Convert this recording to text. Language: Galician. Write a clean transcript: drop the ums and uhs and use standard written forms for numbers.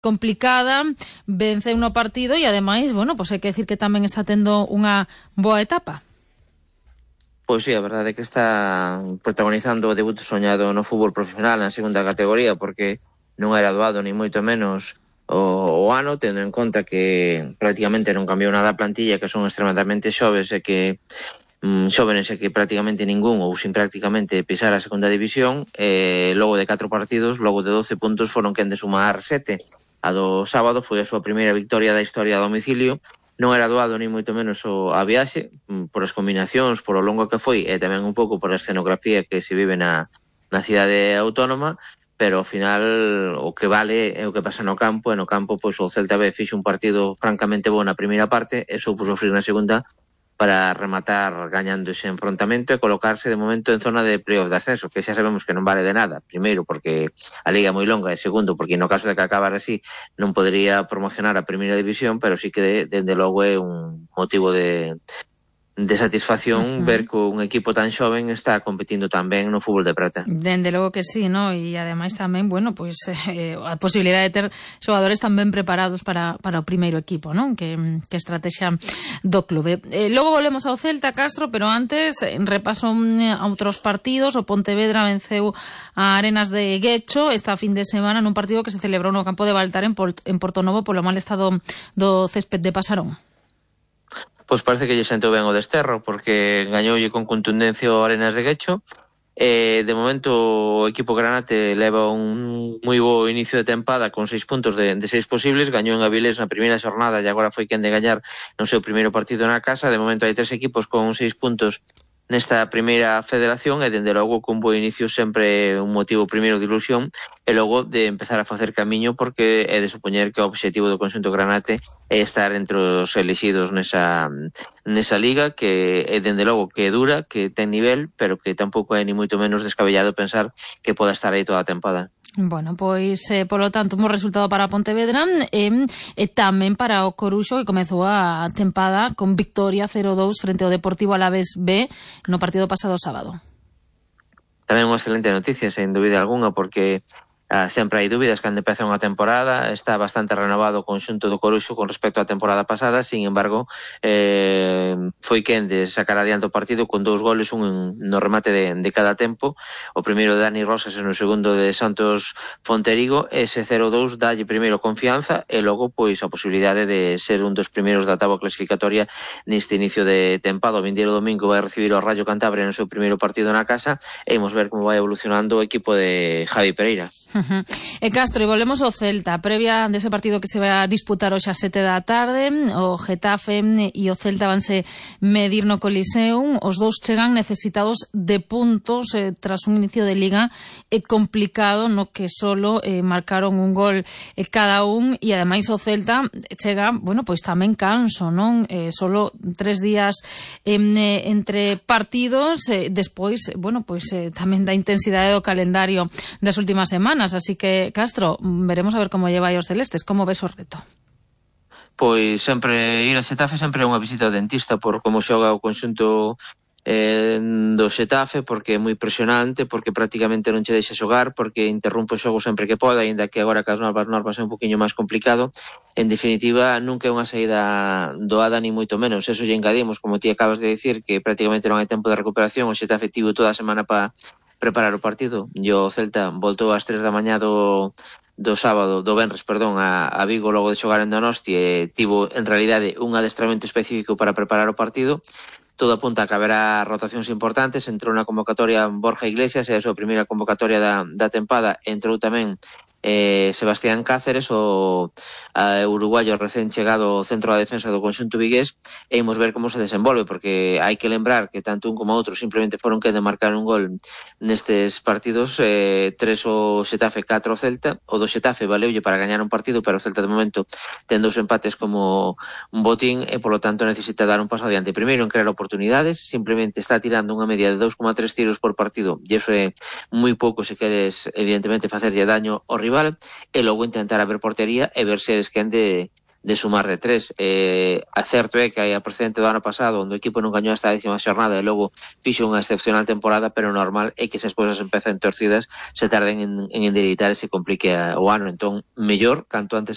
complicada, venceu no partido e ademais, bueno, pois hai que decir que tamén está tendo unha boa etapa. Pois sí, a verdade é que está protagonizando o debut soñado no fútbol profesional na segunda categoría, porque non era doado ni moito menos o ano, tendo en conta que prácticamente non cambiou nada a plantilla, que son extremadamente xoves e que xóvenes e que prácticamente ningún ou sin prácticamente pisar a segunda división, logo de 4 partidos, logo de 12 puntos foron quen de sumar 7. A do sábado foi a súa primeira victoria da historia a domicilio. Non era doado ni moito menos a viaxe, por as combinacións, por o longo que foi e tamén un pouco por a escenografía que se vive na cidade autónoma, pero ao final o que vale é o que pasa no campo, e no campo pois o Celta B fixo un partido francamente bo na primeira parte e soupo sofrir na segunda para rematar gañando ese enfrontamento e colocarse de momento en zona de playoff de ascenso, que xa sabemos que non vale de nada. Primeiro, porque a liga é moi longa, e segundo, porque no caso de que acabar así non podería promocionar a primeira división, pero sí que dende logo é un motivo de satisfacción ver que un equipo tan xoven está competindo tan ben no fútbol de prata. Dende logo que sí, ¿no? E ademais tamén, bueno, pois a posibilidade de ter xogadores tan ben preparados para o primeiro equipo, ¿no? Que estrategia do clube. Logo volvemos ao Celta, Castro, pero antes repaso a outros partidos. O Pontevedra venceu a Arenas de Guecho esta fin de semana nun partido que se celebrou no campo de Baltar en Portonovo polo mal estado do césped de Pasarón. Pois parece que lle sentou ben o desterro, porque gañoulle con contundencia o Arenas de Guecho. De momento o equipo granate leva un moi bo inicio de tempada con 6 puntos de 6 posibles. Gañou en Avilés na primeira xornada e agora foi quen de gañar no seu primeiro partido na casa. De momento hai 3 equipos con 6 puntos nesta primeira federación e dende logo con bo inicio sempre un motivo primeiro de ilusión e logo de empezar a facer camiño, porque é de supoñer que o obxectivo do conxunto granate é estar entre os elixidos nesa liga, que é dende logo que é dura, que ten nivel, pero que tampouco é ni moito menos descabellado pensar que poda estar aí toda a tempada. Bueno, pois, polo tanto, un resultado para Pontevedra e tamén para o Coruxo, que comezou a tempada con victoria 0-2 frente ao Deportivo Alavés B no partido pasado sábado. Tamén unha excelente noticia, sen dúbida alguna, porque sempre hai dúbidas cando empeza unha temporada. Está bastante renovado o conxunto do Coruxo con respecto á temporada pasada. Sin embargo, foi quen de sacar adiante o partido con 2 goles, un no remate de cada tempo, o primeiro de Dani Rosas e no segundo de Santos Fonterigo. Ese 0-2 dalle primeiro confianza e logo pois a posibilidade de ser un dos primeiros da táboa clasificatoria neste inicio de tempada. O vindeiro domingo vai recibir o Rayo Cantabria no seu primeiro partido na casa e imos ver como vai evolucionando o equipo de Javi Pereira. E Castro, e volvemos ao Celta, previa dese partido que se vai a disputar hoxe a 7 da tarde. O Getafe e o Celta vanse medir no Coliseum. Os dous chegan necesitados de puntos tras un inicio de liga complicado, no que solo marcaron un gol cada un, e ademais o Celta chega, bueno, pois tamén canso, non? Solo 3 días entre partidos, despois, bueno, pois tamén da intensidade do calendario das últimas semanas. Así que, Castro, veremos a ver como lleva os celestes. Como ves o reto? Pois sempre ir a Xetafe sempre é unha visita ao dentista por como xoga o conxunto do Xetafe, porque é moi presionante, porque prácticamente non che deixa xogar, porque interrompe o xogo sempre que pode, ainda que agora cas novas normas é un poquinho máis complicado. En definitiva, nunca é unha saída doada ni moito menos. Eso lle engadimos, como ti acabas de dicir, que prácticamente non hai tempo de recuperación. O Xetafe tivo toda a semana para preparar o partido, e o Celta voltou ás 3 da mañá do venres, a Vigo logo de xogar en Donosti, e tivo en realidade un adestramento específico para preparar o partido. Todo apunta a que haberá rotacións importantes. Entrou na convocatoria Borja Iglesias, e a súa primeira convocatoria da tempada. Entrou tamén Sebastián Cáceres, o uruguayo recén chegado ao centro da defensa do conxunto vigués, e imos ver como se desenvolve, porque hai que lembrar que tanto un como outro simplemente foron que de marcar un gol nestes partidos. 3 o Xetafe, 4 o Celta. O do Xetafe valeulle para gañar un partido, pero o Celta de momento ten 2 empates como un botín e polo tanto necesita dar un paso adiante. Primeiro en crear oportunidades, simplemente está tirando unha media de 2,3 tiros por partido, e iso é moi pouco se queres evidentemente facerlle daño ao rival, e logo intentar abrir portería e ver se eres quen de sumar de 3. A certo é que hai a precedente do ano pasado onde o equipo non gañou hasta a 10ª xornada e logo fixo unha excepcional temporada, pero normal é que se as cousas empezan torcidas se tarden en endereitar e se complique o ano. Entón, mellor, canto antes